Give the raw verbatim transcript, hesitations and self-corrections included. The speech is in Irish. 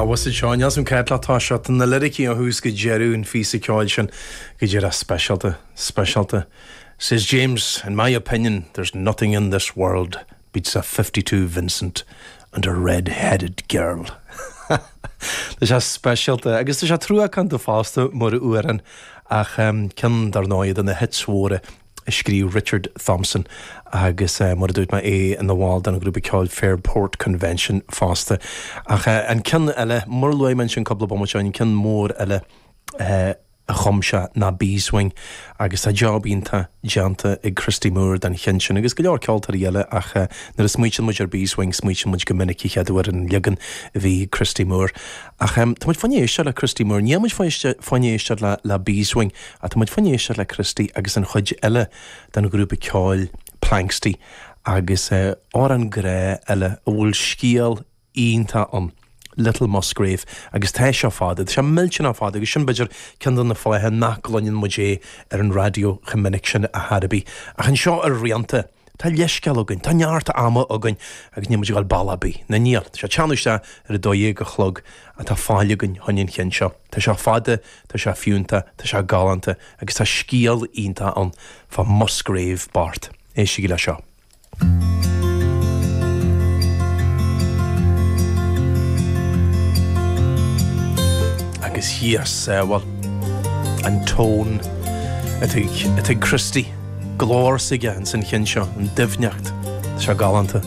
Was seo an céad tá seo na liricí ó thús go deireadh an phíosa ceoil sin go dtí speisialta speisialta. Says James, in my opinion, there's nothing in this world beats a fifty-two Vincent and a red-headed girl. Tá sé speisialta agus tá sé truacánta fosta mar amhrán ach um, ceann dar ndóigh de na hits mhóra a scríobh Richard Thompson agus uh, mar a dúirt mé é ina bhall den grúpa ceoil Fairport Convention fosta. Ach uh, an ceann eile mar a luaigh mé sin cúpla bomaite an ceann mór eile uh, a chum sé ná Beeswing agus tá job iontach déanta ag Christy Moore den cheann sin agus go leor ceoltóirí eile ach uh, nuair a smaoiníonn muid ar Beeswing smaoiníonn muid go minic chéad uair an leagan a bhí Christy Moore. Ach um, tá muid fá choinne éisteacht le Christy Moore, níl muid fá choinne éisteacht le, le Beeswing a tá muid fá choinne éisteacht le Christy agus an chuid eile den ghrúpa ceoil Planxty agus uh, amhrán grá eile a bhfuil scéal iontach ann. Little Musgrave agus tá sé fada, Tá sé millteanach fada agus sin b'fhéidir ceann de na fáthanna nach gcluineann muid é ar an raidió chomh minic sin ar chor ar bith. Ach anseo ar Rianta, Tá leithscéal againn, Tá neart ama againn agus níl muid ag dul bealach ar bith. Na níl, Tá sé teannadh isteach ar a dó dhéag a chlog atá fáil againn chun an chinn seo. Tá sé fada, tá sé fiúntach, tá sé galánta agus tá scéal iontach ann fá Musgrave bocht. Éistigí le seo. Agus thíos bhuel an tón atá ag Christy glór s'aige ansan cheann seo an doimhneacht. Tá sé galánta.